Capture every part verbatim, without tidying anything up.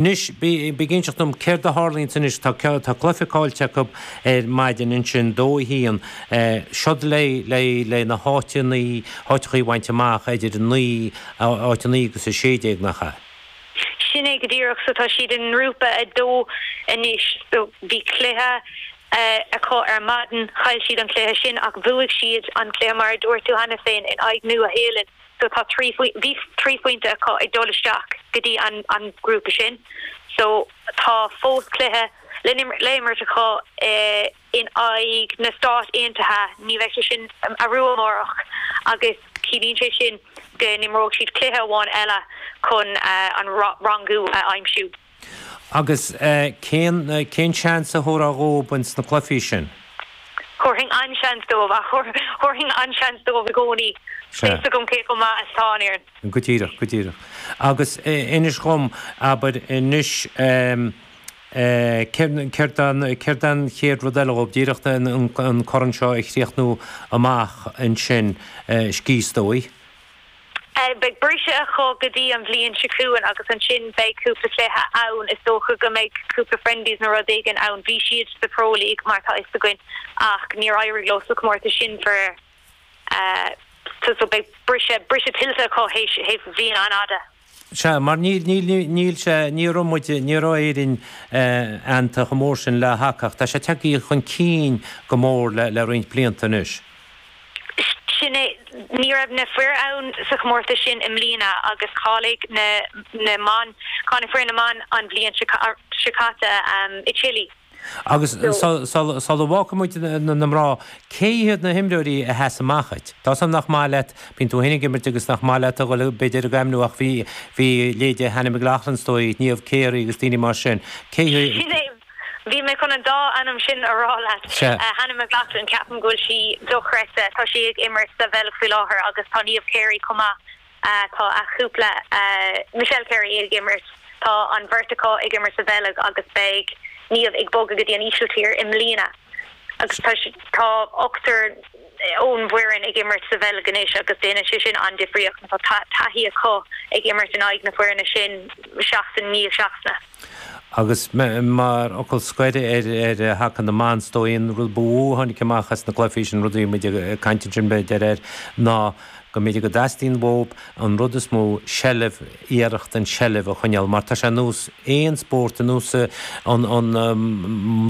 Anois, bí ag inseacht dom céard a tharlaíonns anois, tá tá cluiche caillte acu ar maidin ansin, dó a haon, seod le le le na háiteanna, háiteachaí a bhaint amach idir naoi, áit a naoi agus a sé déag, nach ea? Sin é go díreach, so tá siad i ngrúpa a dó anois, so bhí cluiche acu ar maidin, chaill siad an cluiche sin ach bhuaigh siad an cluiche mar a dúirt tú cheana féin in aghaidh Nua Shéalainn, so tá trí bhí trí phointe acu ag dul isteach go dtí an an grúpa sin. So tá fós cluiche le le imirt acu in aghaidh na Stát Aontaithe, ní bheidh sé sin arú amárach agus ciallaíonn sé sin go n-imreoidh siad cluiche amháin eile chun an rangú a aimsiú. Agus cén cén seans a thabharfá dhóibh ins na cluichí sin? Thabharfainn an-seans dóibh ach thabharfainn an-seans dóibh i gcónaí. Tá a fhios agam cé chomh maith is atá an fhoireann. Go díreach, go díreach. Agus inis dhom, abair, anois céard céard an chéad rud eile dhóibh, díreach an corn seo a chríochnú amach ansin, scíth is dóigh? Beidh briseadh acu go dtí an bhliain seo chugainn agus ansin beidh cúpla cluiche ann. Is dócha go mbeidh cúpla friendlies nó rud éigin ann. Bhí siad sa Pro League mar tá fhios againn ach níor éirigh leo sa chomórtas sin faraor. So so beidh briseadh briseadh tuillte acu théis théis bhliain an-fhada. Sea, mar níl níl níl sé ní raibh muid ní raibh Éirinn aitheanta chomh mór sin le haca ach tá sé tagtha chun cinn go mór le le roinnt blianta anois. Sin é, ní raibh na fir ann sa chomórtas sin i mbliana agus cháiligh na na mban, cháiligh foireann na mban an bhliain seo caite i Chile. Agus sula bhfágfaidh muid na mná, cé hiad na himreoirí a sheas amach duit? Tá 's agam nach maith leat, bíonn tú féin ag imirt agus nach maith leat a dhul b'fhéidir ag ainmniú ach bhí bhí leithéidí Hannah McLaughlin is dóigh, Niamh Carey agus daoine mar sin. Cé hiad? Sin é, bhí mé chun an dá ainm sin a rá leat. Hannah McLaughlin, ceapaim go bhfuil sí dochreidte, tá sí ag imirt sa Bheilg faoi láthair agus tá Niamh Carey chomh maith. Tá a chúpla, Michelle Carey ag imirt, tá an bheirt acu ag imirt sa Bheilg agus beidh Niamh ag bogadh go dtí an Ísiltír i mbliana agus tá tá ochtar ón bhfoireann ag imirt sa Bheilg anois agus déanann sé sin an-difríocht mar tá taithí acu ag imirt in aghaidh na foirne sin seachtain i ndiaidh seachtaine. Agus mar fhocal scoir ar ar haca na mban, is dóigh an rud ba mhó a tháinig amach as na cluichí sin, rud a bhí muid ag caint ansin b'fhéidir air, ná go mb'fhéidir go dteastaíonn uathu an rud is mó, seilbh, iarracht an tseilbh a choinneáil mar tá sé ar nós aon spórt, ar nós an an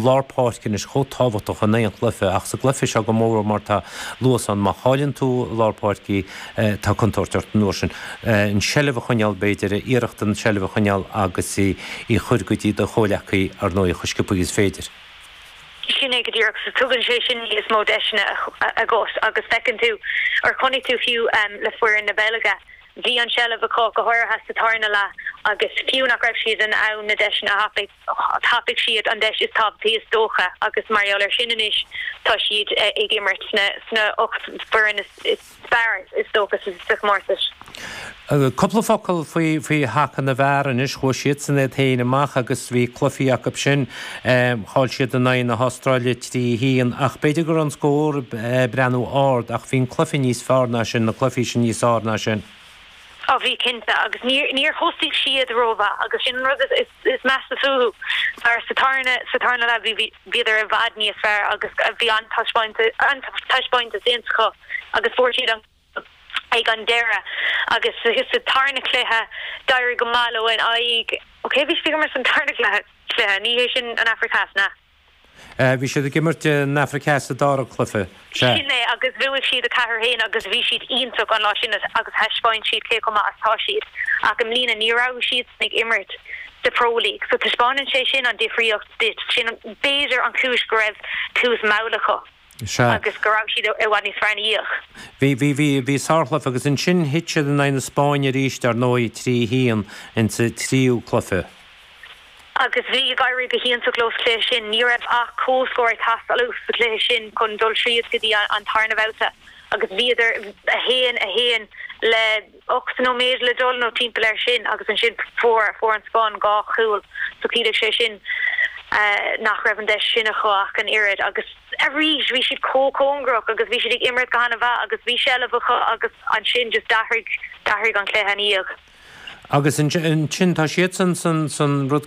lár páirce anois chomh tábhachtach in aon chluiche ach sa gcluiche seo go mór mar tá luas ann, má chailleann tú lár páirce tá contúirt ort an uair sin. An tseilbh a choinneáil b'fhéidir, iarracht an tseilbh a choinneáil agus í a chur go dtí do chomhleacaí ar ndóigh chomh sciobtha is féidir. Sin é go díreach. So tugann sé sin níos mó deiseanna agat agus feiceann tú, or chonaic tú fiú le foireann na Beilge, bhí an tseilbh acu, go háirithe sa tarna leath agus fiú nach raibh siad in ann na deiseanna a thapaigh, thapaigh siad an deis is tábhachtaí is dócha agus mar gheall air sin anois tá siad ag imirt sna sna ocht bhfoireann is fearr is dócha sa chomórtas. Cúpla focal faoi faoi haca na bhfear anois. Chuaigh siadsan iad féin amach agus bhí cluichí acu sin. Chaill siad in aghaidh na hAstráile trí a haon ach b'fhéidir go raibh an scór ag breathnú ard ach bhí an cluiche níos fearr ná sin, na cluichí sin níos fearr ná sin. Á bhí cinnte agus níor níor thosaigh siad rómhaith agus sin an rud is is measa fúthu mar sa tarna sa tarna leath bhí bhíodar i bhfad níos fearr agus bhí an-taispeántas an-taispeántas déanta acu agus fuair siad an ag an deireadh agus sa tarna cluiche d'éirigh go maith leo in aghaidh ok bhí siad ag imirt san tarna cluiche cluiche ní hé sin an Afraic Theas na. Bhí siad ag imirt an Afraic Theas sa dara cluiche, sea. Sin é agus bhuaigh siad a ceathair haon agus bhí siad iontach an lá sin agus thaispeáin siad cé chomh maith is atá siad ach i mbliana ní raibh siadsan ag imirt sa Pro League so taispeánann sé sin an difríocht duit sin b'fhéidir an chúis go raibh tús mall acu. Sea. Agus go raibh siad i bhfad níos fearr ina dhiaidh. Bhí, bhí, bhí, bhí sárchluiche agus ansin thit siad in aghaidh na Spáinne arís, dar ndóigh, trí a haon insa tríú cluiche. Agus bhí ag éirí go hiontach leo sa chluiche sin. Ní raibh ach comhscór ag teastáil uathu sa chluiche sin chun dul tríd go dtí an tarna babhta agus bhíodar a haon, a haon le ocht nóiméad le dul nó timpeall air sin agus ansin fuair fuair an Spáinn dhá chúl so chiallaigh sé sin nach raibh an deis sin acu ach an oiread agus arís bhí siad chomh cóngarach agus bhí siad ag imirt go han-mhaith agus bhí seilbh acu agus ansin just d'athraigh d'athraigh an cluiche ina dhiaidh. Agus ansin tá siad san san san rud